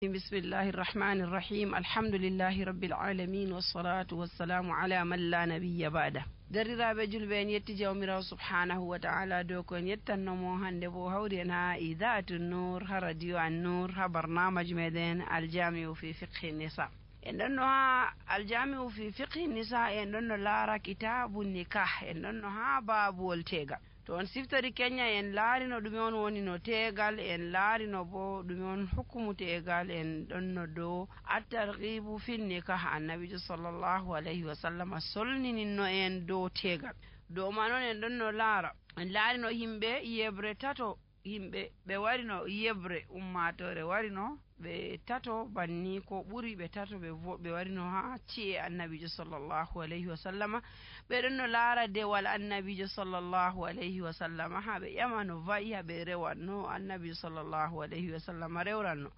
بسم الله الرحمن الرحيم الحمد لله رب العالمين والصلاة والسلام على من لا نبي بعده درiraɓe julɓe en yetti jawmirawo subhanahu wa ta'ala dow ko en yettannomo hande bo hawri en ha idatu nour ha radio an nour ha barnamaji meɗen aljamiu fi fiqhi nisa en ɗonno ha aljamiu fi fiqhi nisa en ɗonno laara kitabu nikah en ɗonno ha babuwol tegal to on siftori kenya en laarino ɗume on woni no tegal en laarino bo ɗume on hukumu tegal en ɗonno dow attarghibu fin nikah annabijo sallllahu alayhi wa sallam solnininno en dow tegal dow man on en ɗonno laara en laarino yimɓe yebre tato yimɓe ɓe warino yebre ummatore warino ɓe tato banni ko ɓuri ɓe tato ɓe warino ha ci'e annabijo sallllahu alayhi wa sallama ɓe ɗon no laara dewal annabijo sallllahu alayhi wa sallama ha ɓe ƴama no wayi ha ɓe rewanno annabijo sallllahu alayhi wa sallama rewranno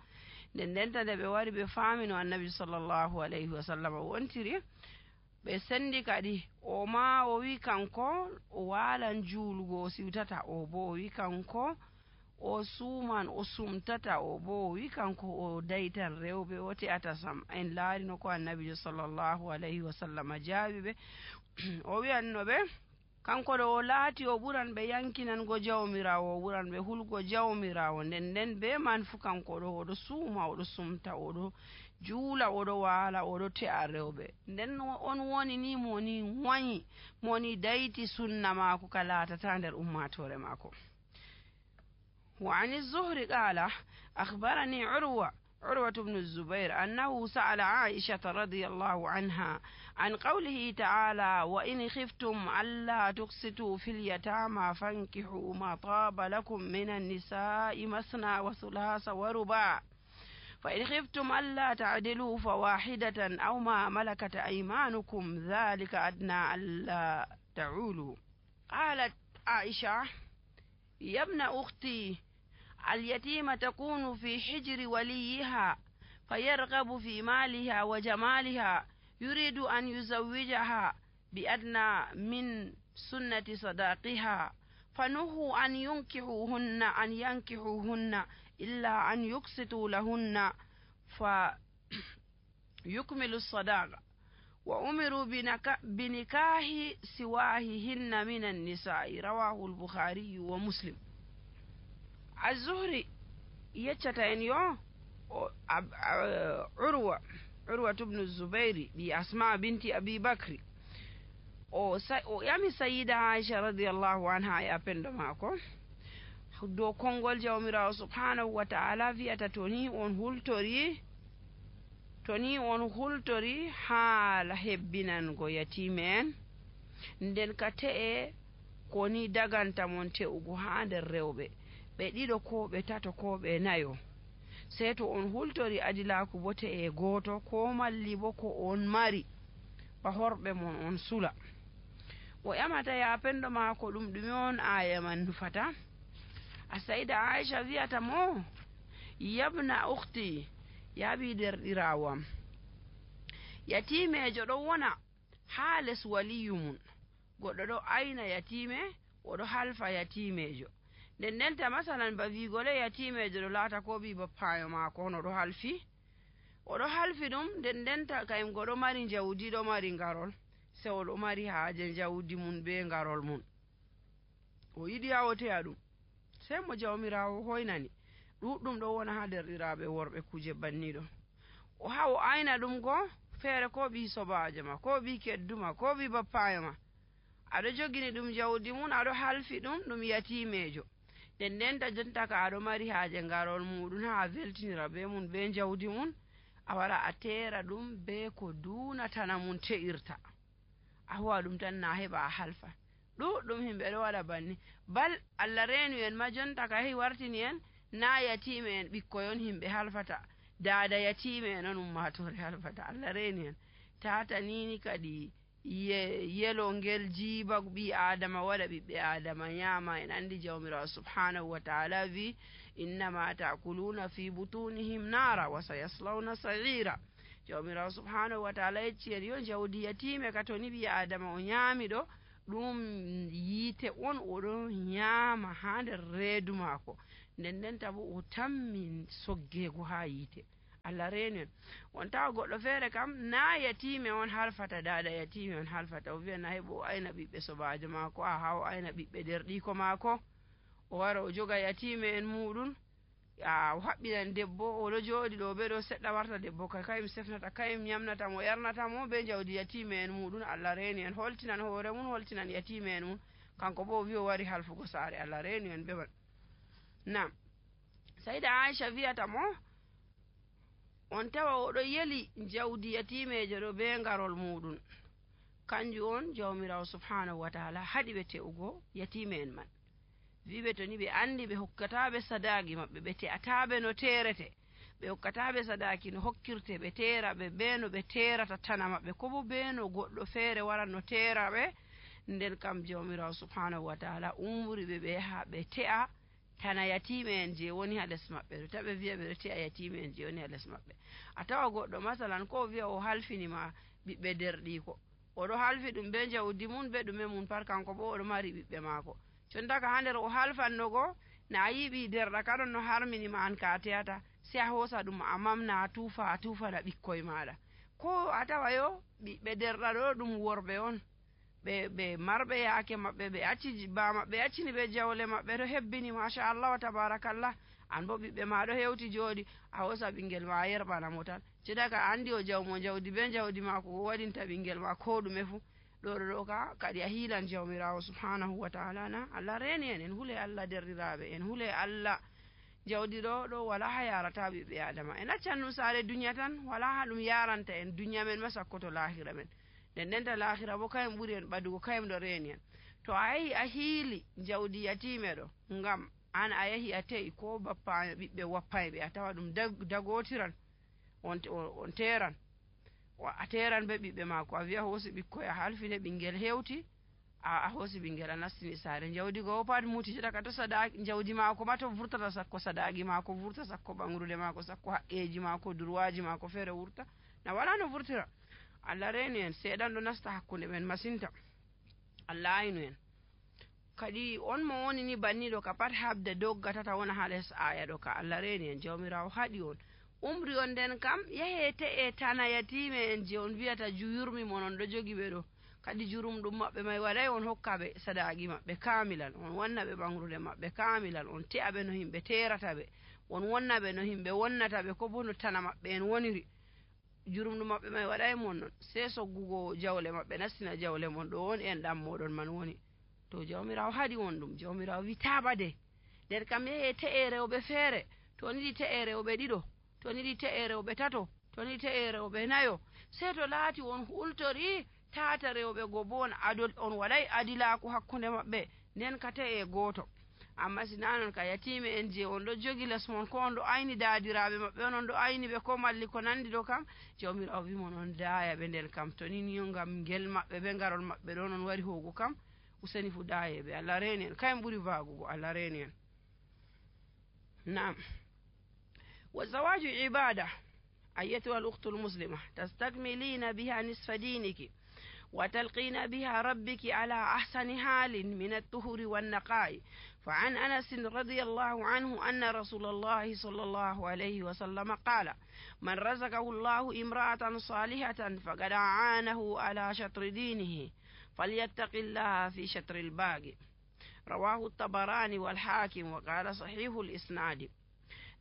nden nde ɓe wari ɓe faamino annabijo sallllahu alayhi wa sallama wontiri ɓe sendi kadi o ma o wi kanko o walan juulugo o siwtata o bo o wi kanko o suuman o sumtata o bo o wi kanko o daytan rewɓe o te'ata sam en laarino ko annabijo sallllahu alayhi wa sallam jaabi ɓe o wiyanno ɓe kanko ɗo o laati o ɓuran ɓe yankinango jawmirawo o ɓuran ɓe hulgo jawmirawo nden be man fu kanko ɗo oɗo suuma oɗo sumta oɗo juula oɗo waala oɗo te'a rewɓe nden on woni ni moni wayi moni dayti sunna maako ka laatata nder ummatore maako. وعن الزهري قال أخبرني عروة بن الزبير أنه سأل عائشة رضي الله عنها عن قوله تعالى وإن خفتم ألا تقسطوا في اليتامى فانكحوا ما طاب لكم من النساء مثنى وثلاث ورباع فإن خفتم ألا تعدلوا فواحدة أو ما ملكت أيمانكم ذلك أدنى ألا تعولوا. قالت عائشة يا ابن أختي اليتيمة تكون في حجر وليها فيرغب في مالها وجمالها يريد أن يزوجها بأدنى من سنة صداقها فنهوا أن ينكحوهن إلا أن يقسطوا لهن فيكملوا الصداق وأمروا بنكاح سواههن من النساء رواه البخاري ومسلم. الزهري يتشتين يو عروة بن الزبير بأسماء بنت أبي بكر يامي سيدة عائشة رضي الله عنها يا بندماكو do kongol jawmirawo subhanahu wa ta'ala wi'ata toni on hultori haala hebbinango yatime en nden ka te'e koni daganta mon te'ugo ha nder rewɓe ɓe ɗiɗo ko ɓe tato ko ɓe nayo sei to on hultori adilaku bo te'e goto ko malli bo ko on mari ba horɓe mon on sula o ƴamata ya pendo maako ɗume on aya man nufata a sayda Aisha wiyata mo yabna ukhti yaɓi derɗirawam yatimejo ɗo wona ha les waliyu mum goɗɗo ɗo ayna yatime oɗo halfa yatimejo nden masalan ba wigole yatimejo ɗo laata ko ɓi bappayo maako on oɗo halfi ɗum nden kayim goɗo mari jawdi ɗo mari ngarol se oɗo mari haaje jawdi mum be ngarol mum o yiɗi ha o te'a ɗum sei mo jawmirawo hoynani ɗuɗɗum ɗo wona ha derɗiraɓe worɓe kuje banniɗo o ha o ayna ɗum go feere ko ɓi sobajo ma ko ɓi kedduma ko ɓi bappayo ma aɗo jogini ɗum jawdi mum aɗo halfi ɗum yatimejo nden jonta ka aɗo mari haaje ngarol muɗum ha weltinira be mum be jawdi mum a wara a tera ɗum be ko dunatana mum te'irta a huwa ɗum tan na heɓa a halfa ɗuɗɗum himɓe ɗo waɗa banni bal Allah reenu en ma jonta ka hehi wartini en na yatime en ɓikkoyon himɓe halfata dada yatime en on ummatore halfata Allah reeni en tata nini kadi yelo ngel jiiba ɓi adama waɗa ɓiɓɓe adama ñaama en andi jawmirawo subhanahu wa ta'ala wi innama ta'kuluna fi butunihim nara wa sayaslawna sa'ira jawmirawo subhanahu wa ta'ala yecci en yo jawdi yatime ka toni ɓi adama o ñaami ɗo ɗum yiite on oɗon ñaama ha nder reedu maako nden tabo o tammi soggego ha yiite Allah reeni en. on tawa goɗɗo feere kam na yatime on halfata dada yatime on halfata, o wiya na heɓo o ayna ɓiɓɓe sobajo maako, ha o ayna ɓiɓɓe derɗiko maako, o wara o joga yatime en muɗum, o haɓɓinan debbo oɗo jooɗi ɗo ɓe ɗo seɗɗa warta debbo kayum sefnata kayum yamnata mo yarnata mo be jawdi yatime en muɗum. Allah reeni en, holtinan hoore mum, holtinan yatime en mum, kanko bo o wi o wari halfugo saare. Allah reeni en ɓe man. Nam sayda Aisha wiyata mo on tawa oɗo yeli jawdi yatimejo ɗo be ngarol muɗum, kanjum on jawmirawo subhanahu wa taala haɗi ɓe te'ugo yatime en man, wiɓe to ni ɓe andi ɓe hokkataɓe sadaki maɓɓe, ɓe te'ataɓe no terete, ɓe hokkataɓe sadaki no hokkirte, ɓe teraɓe be no ɓe terata tana maɓɓe, ko bo be no goɗɗo feere waran no teraɓe, nden kam jawmirawo subhanahu wa taala umri ɓe ɓe yaha ɓe te'a tana yatime en je woni ha les maɓɓe ɗo, taɓe wiya ɓeɗo te'a yatime en je woni ha les maɓɓe. A tawa goɗɗo masalan ko wiya o halfinima ɓiɓɓe derɗiko, oɗo halfi ɗum be jawdi mum be ɗume mum par, kanko bo oɗo mari ɓiɓɓe maako, condaka ha nder o halfannogo na a yiɓi derɗa kaɗon no harminima an ka teyata, sai a hosa ɗum a mamna a tufana ɓikkoye maɗa, ko a tawa yo ɓiɓɓe derɗa ɗo ɗum worɓe on, ɓe marɓe yaake maɓɓe, ɓe acci ba maɓɓe accini ɓe jawle maɓɓe ɗo hebbini machallah wa tabarakallah, an bo ɓiɓɓe ma ɗo hewti jooɗi, a hosa ɓinguel ma a yerɓana mo tan, cedaka andi o jawmo jawdi be jawdi mako o waɗinta ɓinguel ma ko ɗume fu, ɗo ka kadi a hiilan jawmirawo subhanahu wa taala na. Allah reeni en, en hule Allah derɗiraɓe, en hule Allah, jawdi ɗo wala ha yarata ɓiɓɓe adama, en accan ɗum saare duniya tan, wala ha ɗum yaranta en duniya men ma sakkoto lahira men, ndenta lahira bo kayum ɓuri en ɓadugo, kayum ɗo reeni en. To a yahi a hiili jawdi yatime ɗo ngam an a yahi a te'i ko bappa ɓiɓɓe wappayɓe, a tawa ɗum dagotiran, on teran, a teran be ɓiɓɓe mako, a wiya hoosi ɓikkoy a halfine ɓinguel hewti, a hoosi ɓinguel a nastini saare, jawdi go pat muti, cedaka to sadaki jawdi mako ma to vurtata sakko sadaki mako vurta, sakko ɓangrude mako, sakko haqqeji mako, durwaji mako feere wurta, na wala no vurtira. Allah reeni en, seeɗan ɗo nasta hakkunde men masinta, Allah aynu en. Kadi on mo woni ni banniɗo ka pat habde doggatata wona ha les aya ɗo ka, Allah reeni en, jawmirawo haɗi on, umri on nden kam yahe te'e tana yatime en je on wiyata juyurmi mon on ɗo jogi ɓe ɗo, kadi jurum ɗum maɓɓe may waɗay on hokkaɓe sadaki maɓɓe kamilan, on wanna ɓe ɓangrude maɓɓe kamilan, on te'a ɓe no himɓe terata ɓe, on wonna ɓe no himɓe wonnata ɓe, ko bo no tana maɓɓe en woniri, jurum ɗum maɓɓe may waɗay mon non, sai soggugo jawle maɓɓe nastina jawle mon, ɗo woni en ɗam moɗon man woni, to jawmirawo haɗi on ɗum, jawmirawo wi taɓade, nden kam yahe te'e rewɓe feere, to niɗi te'e rewɓe ɗiɗo, to niɗi te'e rewɓe tato, to niɗi te'e rewɓe nayo, sai to laati on hultori tata rewɓe go bo on waɗay adilaku hakkunde maɓɓe, nden ka te'e goto. Amma sina non ka yatime en je on ɗo jogi les mon, ko on ɗo ayni dadiraɓe maɓɓe on ɗo ayni ɓe, ko malli ko nandi ɗo kam, jawmirawo wimon on daya ɓe, nden kam to ni ngam ngel maɓɓe be ngarol maɓɓe ɗon on wari hogu kam, useni fu dayeɓe. Allah reeni en, kayum ɓuri vagugo. Allah reeni en. Naam. والزواج عبادة أيتها الأخت المسلمة تستكملين بها نصف دينك وتلقين بها ربك على أحسن حال من الطهر والنقاء. فعن أنس رضي الله عنه أن رسول الله صلى الله عليه وسلم قال: من رزقه الله امرأة صالحة فقد أعانه على شطر دينه فليتق الله في شطر الباقي. رواه الطبراني والحاكم وقال صحيح الإسناد.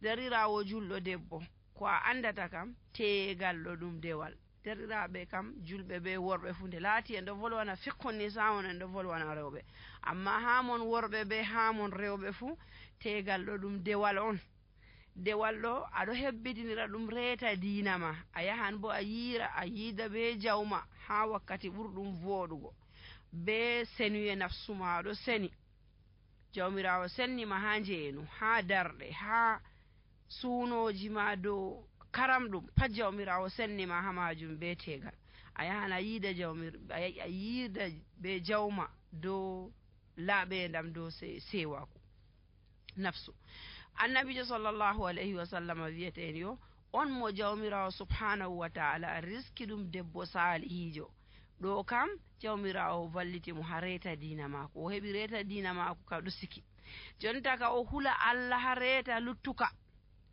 darirawo julɗo debbo ko a andata kam teegalɗo ɗum dewal, dariraɓe kam julɓe be worɓe fu nde laati en ɗo volwana fikkon ni samon en ɗo volwana rewɓe, amma hamon worɓe be hamon rewɓe fu teegalɗo ɗum dewal on. dewal ɗo aɗo hebbidinira ɗum reeta diina ma, a yahan bo a yiida be jawma ha wakkati ɓurɗum voɗugo, be senuye nafsu ma aɗo seni, jawmirawo sennima ha njeenu, ha darɗe, ha suunoji ma dow karam ɗum pat jawmirawo sennima ha majum be tegal, a yahan a yiida be jawma dow laaɓendam dow sewaku nafsu. annabijo sallllahu alayhi wa sallam wiyeten yo on mo jawmirawo subhanahu wa taala riski ɗum debbo salihijo, ɗo kam jawmirawo valliti mo ha reeta diina mako, o heɓi reeta diina mako ka ɗo siki, jonta ka o hula Allah ha reeta luttuka,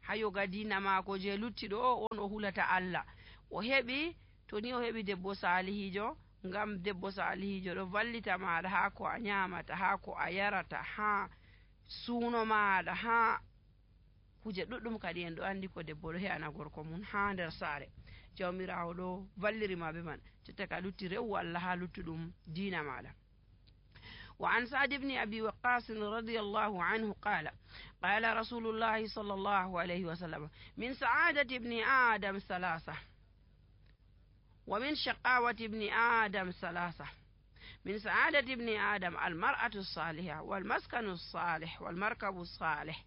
ha yoga dina maako je luttiɗo on o hulata Allah o heɓi to ni o heɓi debbo salihijo ngam debbo salihijo ɗo vallita maɗa ha ko a nyamata ha ko a yarata ha suuno maɗa ha kuje ɗuɗɗum kadi en ɗo andi ko debbo ɗo he'ana gorko mum ha nder saare jawmirawo ɗo vallirima be man jotta ka lutti rewu Allah ha luttuɗum dina maɗa. وعن سعد بن أبي وقاص رضي الله عنه قال قال رسول الله صلى الله عليه وسلم من سعادة ابن آدم ثلاثة ومن شقاوة ابن آدم ثلاثة من سعادة ابن آدم المرأة الصالحة والمسكن الصالح والمركب الصالح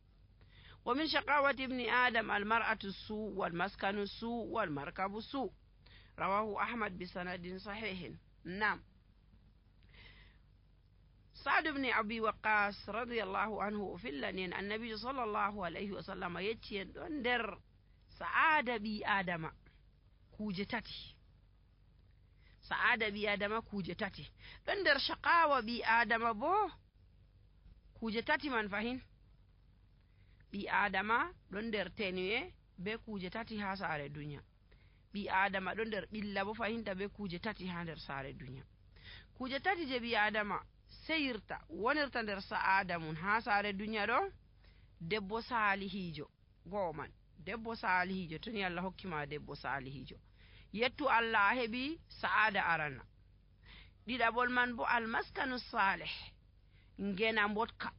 ومن شقاوة ابن آدم المرأة السوء والمسكن السوء والمركب السوء رواه أحمد بسند صحيح. نعم سعد بن أبي وقاص رضي الله عنه في اللنين النبي صلى الله عليه وسلم يتين دندر سعادة بي آدم كوجتتي سعادة بي آدم كوجتتي دندر شقاوة بي آدم بو كوجتتي من فهين بي آدم دندر تنوي be kuje tati ha saare duniya bi adama ɗo nder ɓilla bo fahinta be kuje tati ha nder saare duniya kuje tati je bi adama seyirta wonirta nder sa'ada mun ha saare duniya ɗo debbo salihijo go'o man debbo salihijo to ni Allah hokkima debbo salihijo yettu Allah a heɓi sa'ada arana ɗiɗaɓol man bo almaskanu salih ngena mbotka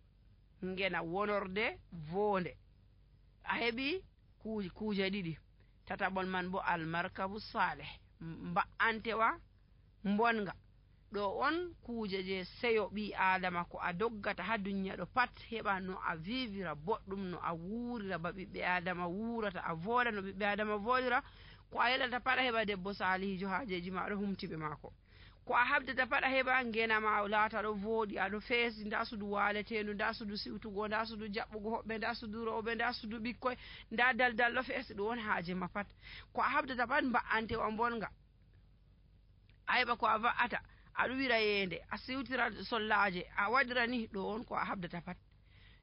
ngena wonorde vonde a heɓi kuje ɗiɗi tataɓol man bo almarkabu salih mba'antewa mbonga ɗo on kuje je seyo ɓi adama ko a doggata ha duniya ɗo pat heɓa no a vivira boɗɗum no a wurira ba ɓiɓɓe adama wurata a voɗa no ɓiɓɓe adama voɗira ko a yeɗata pat a heɓa debbo salihijo hajeji ma ɗo humtiɓe mako ko a habdata pat a heɓa ngenama laata ɗo voɗi aɗo feesi nda sudu waletendu nda sudu siwtugo nda sudu jaɓɓugo hoɓɓe nda sudu rewɓe nda sudu ɓikkoy nda daldal ɗo feesi ɗum won haaje ma pat ko a habdata pat mba'antewa bonga a heɓa ko a va'ata a ɗuwira yende a siwtira sollaje a waɗira ni ɗo on ko a habdata pat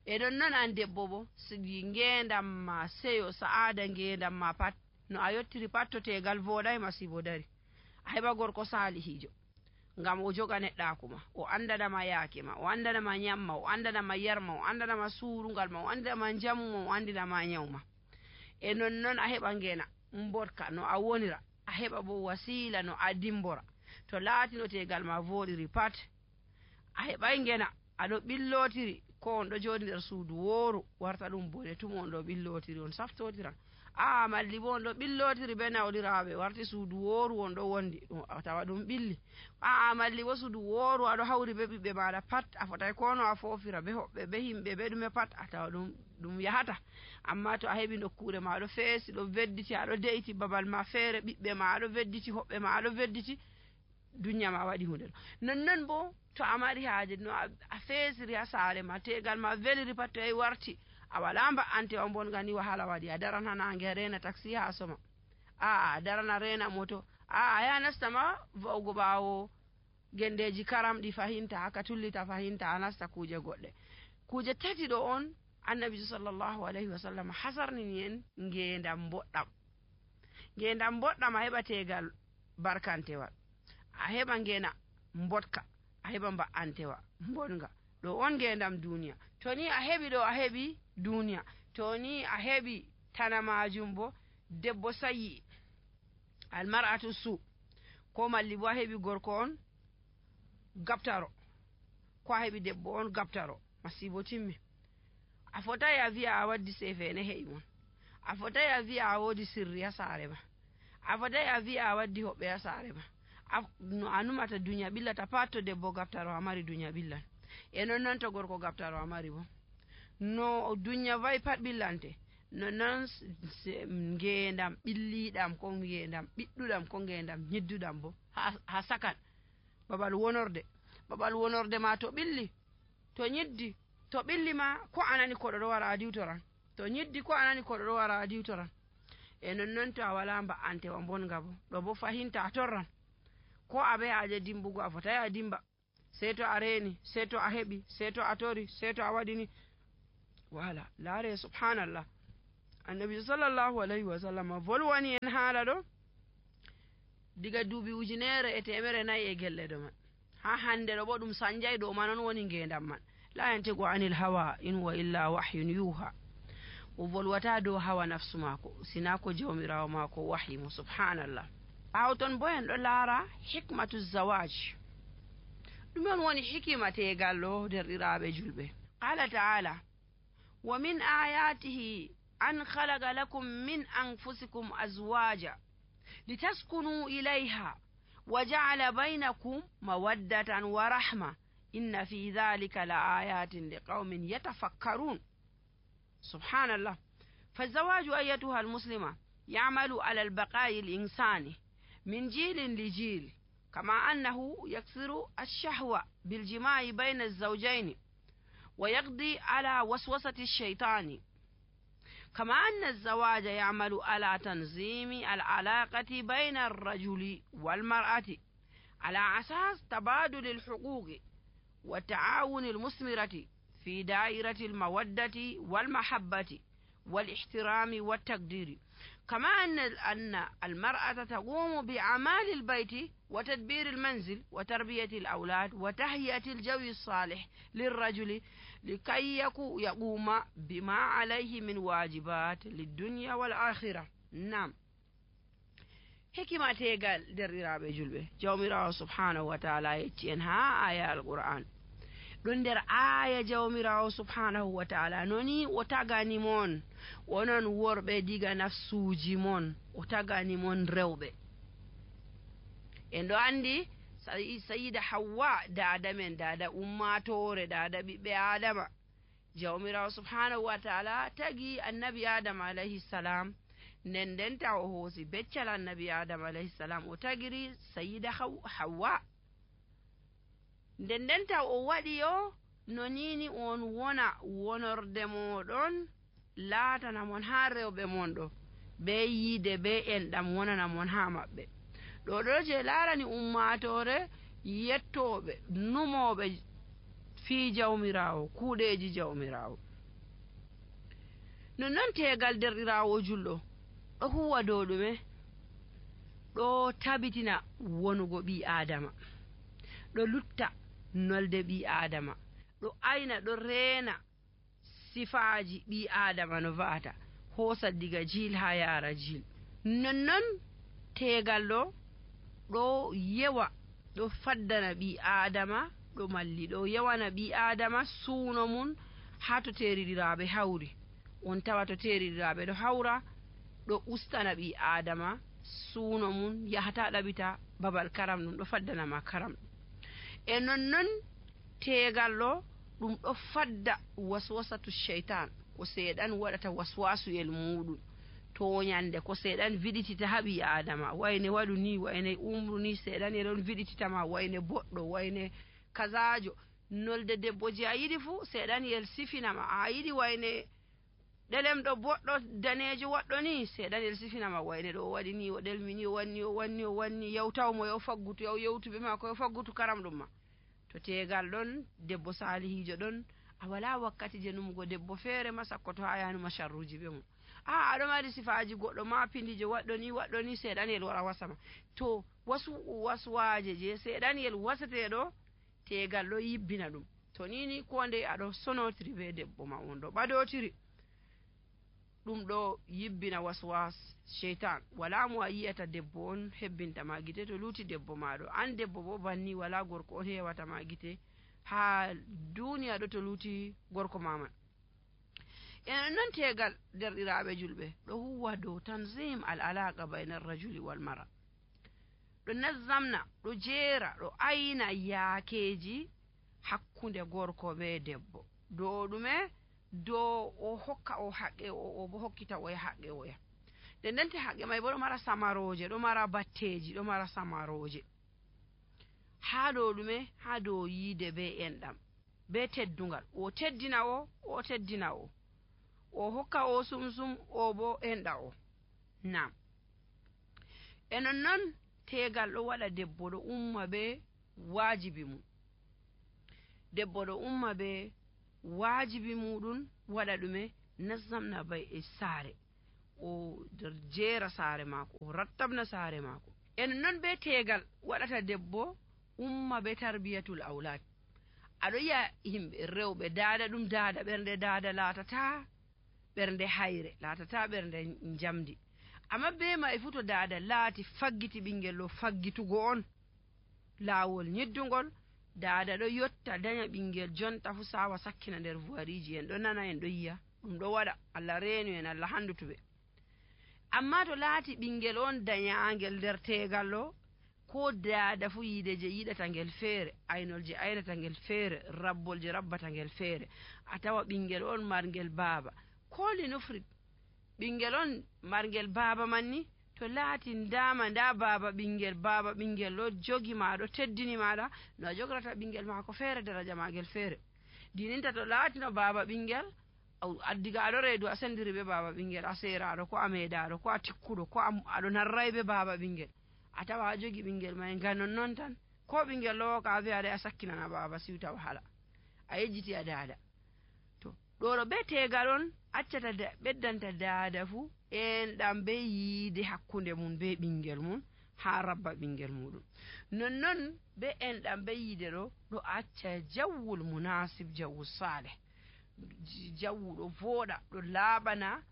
e ɗon non an debbo bo sigi ngendam ma seyo sa'ada ngendam ma pat no a yottiri pat to tegal voɗay masibo dari a heɓa gorko salihijo ngam o joga neɗɗaku ma o andanama yaake ma o andanama nyamma o andanama yarma o andanama surungal ma o andanama jamu ma o andinama nyawma e non a heɓa ngena mbotka no a wonira a heɓa bo wasila no a dimbora to laatino tegal ma voɗiri pat a heɓay ngena aɗo ɓillotiri ko on ɗo joɗi nder suudu wooru warta ɗum bone tum on ɗo ɓillotiri on saftotiran malli bo on ɗo ɓillotiri be nawliraɓe warti suudu wooru on ɗo wondi ɗum tawa ɗum ɓilli malli bo suudu wooru aɗo hawri be ɓiɓɓe maɗa pat a fotay kono a fofira be hoɓɓe be himɓe be ɗume pat a tawa ɗum yahata amma to a heɓi nokkure ma aɗo feesi ɗo vedditi aɗo de'iti babal ma feere ɓiɓɓe ma aɗo vedditi hoɓɓe ma aɗo vedditi duniya ma waɗi hunde ɗo nonnon bo to a mari haaje no a feesiri ha saare ma tegal ma weliri pat to warti a wala mba'antewa bonga ni wahala waɗi a daran ha nange a rena taxi ha soma a daran a rena moto a ya nastama va'ugo ɓawo gendeji karam ɗi fahinta haka tullita fahinta a nasta kuje goɗɗe kuje tati ɗo on annabi sallallahu alaihi wasallam hasarnini en ngendam boɗɗam a heɓa tegal barkantewal a heɓa ngena mbotka a heɓa mba'antewa bonga ɗo on ngendam duniya to ni a heɓi ɗo a heɓi duniya to ni a heɓi tana majum bo debbo sayi almar'atu su ko malli bo a heɓi gorko on gabtaro ko a heɓi debbo on gabtaro masibo timmi a fotai a wi'a a waddi sefene he'i mon a fotai a wi'a a wodi sirri ha saare ma a fotai a wi'a a waddi hoɓɓe ha saare ma no a numata duniya ɓillata pat to debbo gabtaro a mari duniya ɓillan e non to gorko gabtaro a mari bo no duniya wayi pat ɓillante non ngendam ɓilliɗam ko ngendam ɓiɗɗuɗam ko ngendam nyidduɗam bo ha sakan babal wonorde ma to ɓilli to nyiddi to ɓilli ma ko anani koɗo ɗo wara a diwtoran to nyiddi ko anani koɗo ɗo wara a diwtoran e non to a wala mba'antewa bonga bo ɗo bo fahinta a torran ko aɓe haje dimbugo a fotai a dimba sei to a reni sei to a heɓi sei to a tori sei to a waɗini wala laare subhanallah annabi sallallahu alaihi wa sallam volwani en haala ɗo diga duuɓi ujunere e temere nayi e gelle ɗo man ha hande ɗo bo ɗum sanjay ɗo man on woni ngendam man la yantigu anil hawa in wa illa wahyun yuha o volwata dow hawa nafsu mako sina ko jawmirawo mako wahyi mo subhanallah ɓawo ton bo en ɗo laara hikmatu zawaj ɗum on woni hikima tegal ɗo derɗiraɓe julɓe qala ta'ala wa min ayatihi an khalaqa lakum min anfusikum azwaja litaskunu ilayha wa ja'ala baynakum mawaddatan wa rahma inna fi dhalika la ayatin liqaumin yatafakkarun سبحان الله فالزواج أيتها المسلمة يعمل على البقاء الإنساني من جيل لجيل كما أنه يكسر الشهوة بالجماع بين الزوجين ويقضي على وسوسة الشيطان كما أن الزواج يعمل على تنظيم العلاقة بين الرجل والمرأة على أساس تبادل الحقوق والتعاون المثمرة في دائرة المودة والمحبة والاحترام والتقدير كما أن المرأة تقوم بأعمال البيت وتدبير المنزل وتربية الأولاد وتهيئة الجو الصالح للرجل لكي يقوم بما عليه من واجبات للدنيا والآخرة نعم حكمة تيغال دريرابي جلبه جوميرا سبحانه وتعالى يتينها آية القرآن ɗon nder aya jawmirawo subhanahu wa ta'ala noni o tagani mon wonon worɓe diga nafsuji mon o tagani mon rewɓe en ɗo andi sayida hawwa dada men dada ummatore dada ɓiɓɓe adama jawmirawo subhanahu wa ta'ala tagi annabi adama alayhi salam nden ndenta o hoosi beccal annabi adama alayhi salam o tagiri sayida hawwa nden ndenta o waɗi yo no nini on wona wonorde moɗon laatana mon ha rewɓe mon ɗo be yiide be enɗam wonana mon ha maɓɓe ɗo ɗo je laarani ummatore yettoɓe numoɓe fi jawmirawo kuuɗeji jawmirawo nonnon tegal derɗirawo julɗo ɗo huwa dow ɗume ɗo tabitina wonugo ɓi adama ɗo lutta nolde ɓi adama ɗo ayna ɗo reena sifaji ɓi adama no va'ata hoosa diga jil ha yara jil nonnon tegal ɗo yewa ɗo faddana ɓi adama ɗo malli ɗo yewana ɓi adama suuno mum ha to teriɗiraɓe hawri on tawa to teriɗiraɓe ɗo hawra ɗo ustana ɓi adama suuno mum yahata ɗaɓita babal karam ɗum ɗo faddanama karam e nonnon tegal ɗum ɗo fadda waswasatu shaitan ko seeɗan waɗata waswasuyel muɗum toñande ko seeɗan viɗitita ha ɓi adama wayne waɗu ni wayne umru ni seeɗan e ɗon viɗititama wayne boɗɗo wayne kasajo nolde debbo je a yiɗi fu seeɗan yel sifinama a yiɗi wayne ɗelemɗo boɗɗo danejo waɗɗo ni seeɗan yel sifinama wayne ɗo waɗi ni o ɗelmini o wanni yewtawmo yo faggutu yewtuɓe mako yo faggutu karam ɗum ma to tegal ɗon debbo salihijo ɗon a wala wakkati je numugo debbo feere ma sakko to ha yanuma sharruji ɓe mum aɗo mari sifaji goɗɗo ma pindijo waɗɗo ni seeɗanyel wara wasama to waswaje je seeɗanyel wasateɗo tegal ɗo yibbina ɗum to nini ko nde aɗo sonotiri be debbo ma on ɗo ɓadotiri ɗum ɗo yibbina waswas sheitan wala mo a yiyata debbo on hebbintama gite to luti debbo maɗo an debbo bo banni wala gorko on hewatama gite ha duniya ɗo to luti gorko maman en non tegal derɗiraɓe julɓe ɗo huwa dow tanzim al alaqa bayna arrajuli wal mara ɗo nazzamna ɗo jeera ɗo ayna yaakeji hakkunde gorko be debbo dow ɗume dow o hokka o haqqe o bo hokkita o e haqqe oya nden ndente haqqe may bo ɗo mara samaroje ɗo mara batteji ɗo mara samaroje ha dow ɗume ha dow yiide be enɗam be teddungal o teddina o teddina o hokka o sumsum o bo enɗa o nam e nonnon tegal ɗo waɗa debbo ɗo umma be wajibi mum debbo ɗo umma be wajibi muɗum waɗa ɗume nazzamna bay e saare o jeera saare maako o rattabna saare maako en non be tegal waɗata debbo umma be tarbiyatul aulad aɗo yi'a yimɓe rewɓe daada ɗum daada ɓernde daada laatata ɓernde hayre laatata ɓernde jamdi amma be mai fu to daada laati faggiti ɓingel ɗo faggitugo on laawol nyeddugol daada ɗo yotta daña ɓingel jonta fu sawa sakkina nder vuwariji en ɗo nana en ɗo yi'a ɗum ɗo waɗa Allah reenu en Allah handutuɓe amma to laati ɓingel on dañaangel nder tegal ɗo ko daada fu yiide je yiɗata ngel feere aynol je aynata ngel feere rabbol je rabbata ngel feere a tawa ɓingel on marngel baaba koli nufrit ɓingel on marngel baaba manni to laati ndama nda baaba ɓingel ɗo jogi ma ɗo teddini maɗa no a jogorata ɓingel maako feere daraja magel feere dininta to laatino baaba ɓingel addiga aɗo reedu a sendiri be baaba ɓingel a seraɗo ko a meeɗaɗo ko a tikkuɗo ko aɗo narray be baaba ɓingel a tawa a jogi ɓingel may ngam non tan ko ɓingel ɗo ka wi'aɗa a sakkinana baaba siwta wahala a yejjiti a daada to ɗo be tegal on accata ɓeddanta daada fu en ɗam be yiide hakkunde mum be ɓingel mum ha rabba ɓingel muɗum nonnon be en ɗam be yiide ɗo acca jawwul munasib jawwul saleh jawwu ɗo vooɗa ɗo laaɓana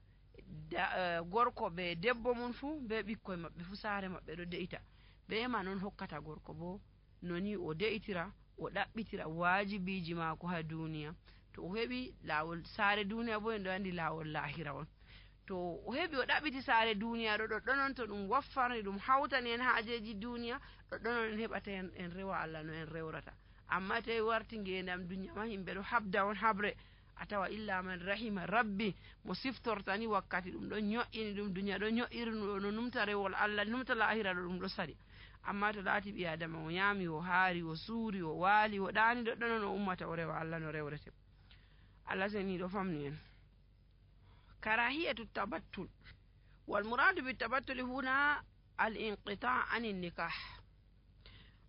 gorko be debbo mum fu be ɓikkoye maɓɓe fu saare maɓɓe ɗo de'ita be ma noon hokkata gorko bo noni o de'itira o ɗaɓɓitira wajibiji maako ha duniya to o heɓi laawol saare duniya bo en ɗo andi laawol lahira on to o heɓi o ɗaɓɓiti saare duniya ɗo ɗoɗɗonon to ɗum waffarni ɗum hawtani en haajeji duniya ɗoɗɗonon en heɓata en rewa Allah no en rewrata amma tawi warti ngendam duniya ma yimɓe ɗo habda on habre a tawa illa man rahima rabbi mo siftortani wakkati ɗum ɗon ño'ini ɗum duniya ɗo ño'irnu no numta rewol Allah numta lahira ɗo ɗum ɗo sari amma to laati ɓi adama o yaami o haari o suuri o waali o ɗaani ɗoɗɗonon o ummata o rewa Allah no rewrete Allah seni ɗo famni en karahiyatu tabattul wal muradu bi tabattuli huna al inqita anin nikah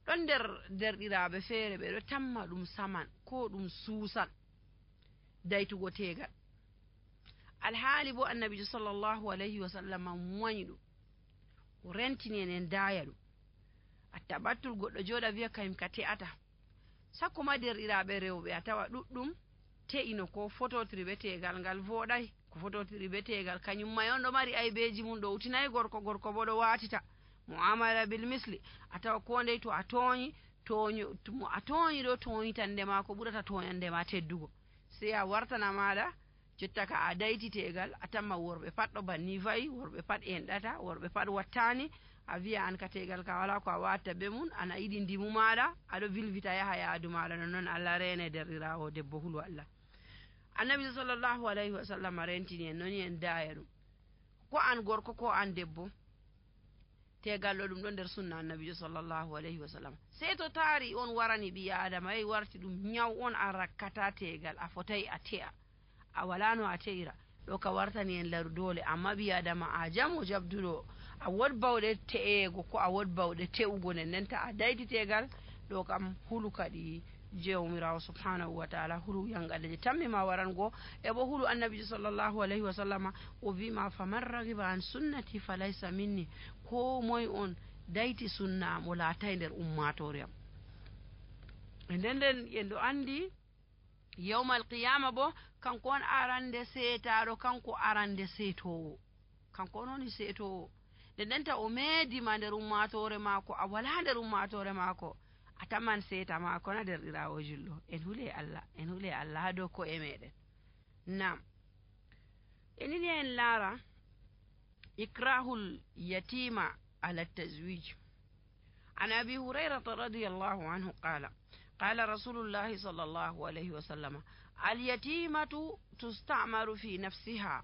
ɗon nder derɗiraɓe feere ɓe ɗo tamma ɗum saman ko ɗum suusan daytugo tegal alhaali bo annabijo sallllahu alayhi wa sallam wañi ɗum o rentini en daaya ɗum a tabattul goɗɗo jooɗa wiya kayim ka te'ata sakko ma derɗiraɓe rewɓe a tawa ɗuɗɗum te'ino ko fototiri be tegal ngal voɗay ko fototiri be tegal kañum may on ɗo mari aybeji mum ɗo utinayi gorko bo ɗo watita muamala bil misli a tawa ko ndey to a tooñi mo a tooñi ɗo tooñitande ma ko ɓurata tooñande ma teddugo sey a wartana maɗa jotta ka a dayti tegal a tamma worɓe pat ɗo banni fayi worɓe pat enɗata worɓe pat wattani a wiya an ka tegal ka wala ko a watta be mum ana yiɗi ndimu maɗa aɗo vilvita yaha yaadu maɗa nonnoon Allah rene derɗirawo debbo hulu Allah annabi sallllahu alayhi wa sallam rentini en noni en daaya ɗum ko an gorko ko an debbo tegal ɗo ɗum ɗo nder sunna annabijo sallllahu alayhi wa sallam sey to taari on warani ɓi adama yehi warti ɗum ñaw on a rakkata tegal a fotayi a te'a a wala no a te'ira ɗo ka wartani en laru dole amma ɓi adama a jamo jabduɗo a wod bawɗe te'ego ko a wod bawɗe te'ugo nden nden ta a dayti tegal ɗo kam hulu kadi jewmirawo subhanahu wa taala hulu yangalle je tammima warango e bo hulu annabijo sallllahu alayhi wa sallama o wima faman ragiba an sunnati falaysa minni ko moye on dayti sunna mo laatay nder ummatore am e nden nden en ɗo andi yawmal qiyama bo kanko on arande seetaɗo kanko arande seetowo kanko on woni seetowo nden nden ta o meedima nder ummatore maako a wala nder ummatore maako a taman seeta maako na derɗirawo julɗo en hule Allah ha dow ko'e meɗen nam enini en laara ikrahul yatima ala tazwij an abi hurayrata radiyallahu anhu qala rasulullahi sallallahu alayhi wa sallam alyatimatu tusta'maru fi nafsiha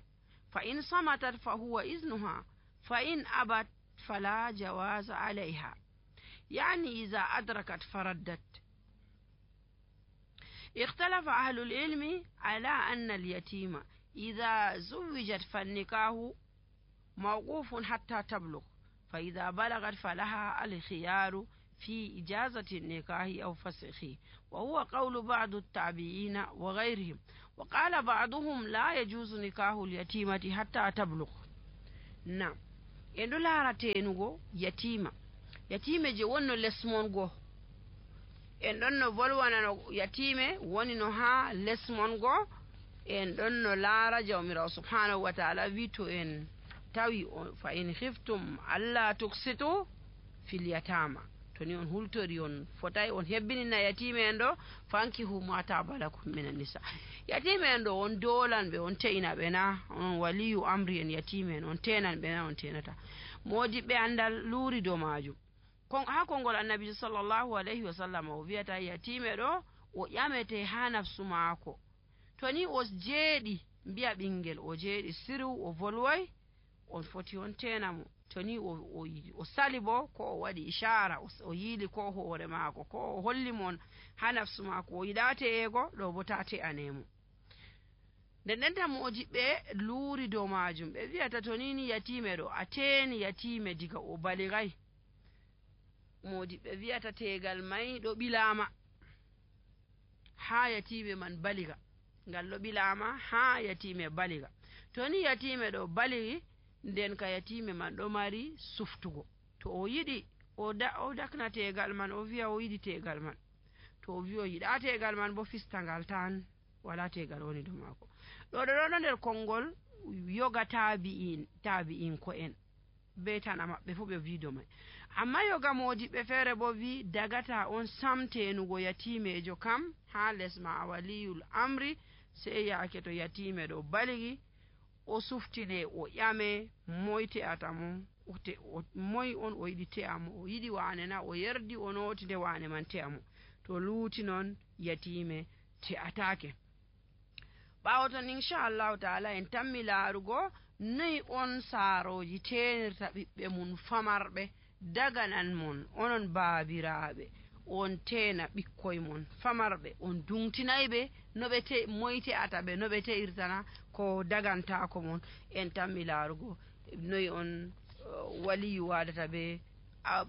fa in samatat fa huwa iznuha fa in abat fala jawaza alayha يعني إذا أدركت فردت اختلف أهل العلم على أن اليتيمة إذا زوجت فالنكاح موقوف حتى تبلغ فإذا بلغت فلها الخيار في إجازة النكاح أو فسخه وهو قول بعض التابعين وغيرهم وقال بعضهم لا يجوز نكاح اليتيمة حتى تبلغ nam en ɗo laara tenugo yatima je wonno lesmon goo en ɗon no volwanano yatime woni no ha lesmon goo en ɗon no laara jawmirawo subhanahu wa taala wi to en tawi fa in khiftum alla tuksitu fil yatama to ni on hultori on fotay on hebbinina yatime en ɗo fankihu ma taba lakum minan nisa yatime en ɗo on dolan ɓe on te'ina ɓe na on waliyu amri en yatime en on tenan ɓe na on tenata modiɓɓe andal luuri dow majum ha konngol annabijo sallllahu alayhi wa sallam o wiyata yatime ɗo o ƴamete ha nafsu maako to ni o jeeɗi mbiya ɓingel o jeeɗi sirw o volway on foti on tenamo to ni o sali bo ko o waɗi ishara o yiili ko hoore maako ko o holli mon ha nafsu maako o yiɗa te'ego ɗo bo ta te'anemo nden nden tan mojiɓɓe luuri dow majum ɓe wiyata to ni yatime ɗo a teeni yatime diga o baligay modiɓɓe wiyata tegal may ɗo ɓilama ha yatime man baliga ngal ɗo ɓilama ha yatime baliga to ni yatime ɗo baligi nden ka yatime man ɗo mari suftugo to o yiɗi o dakna tegal man o wiya o yiɗi tegal man to o wi o yiɗa tegal man bo fistangal tan wala tegal woni dow maako ɗo nder konngol yoga tabi'in ko en be tana maɓɓe fu ɓe wi dow mai amma yoga modiɓɓe feere bo wi dagata on samtenugo yatimejo kam ha les ma waliyul amri sey yaake to yatime ɗo baligi o suftine o ƴame moy te'ata mo moy on o yiɗi te'a mo o yiɗi wane na o yerdi o noti nde wane man te'a mo to luuti noon yatime te'atake ɓawo ton inchallahu taala en tammi laarugo noyi on saaroji tenirta ɓiɓɓe mum famarɓe daganan mon onon baabiraɓe on tena ɓikkoye mon famarɓe on dungtinayɓe no ɓe moy te'ata ɓe no ɓe te'irtana ko dagantako mon en tammi laarugo noyi on waliyu wadata ɓe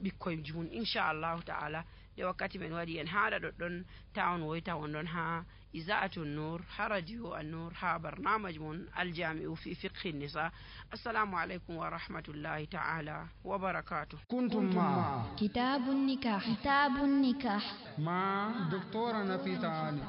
ɓikkoye mum inchallahu taala nde wakkati men waɗi en haɗa ɗoɗɗon ta on woyta on ɗon ha إذاعة النور ها راديو النور ها برنامج من الجامع في فقه النساء السلام عليكم ورحمة الله تعالى وبركاته كنتم مع كتاب النكاح مع دكتورة نفيسة علي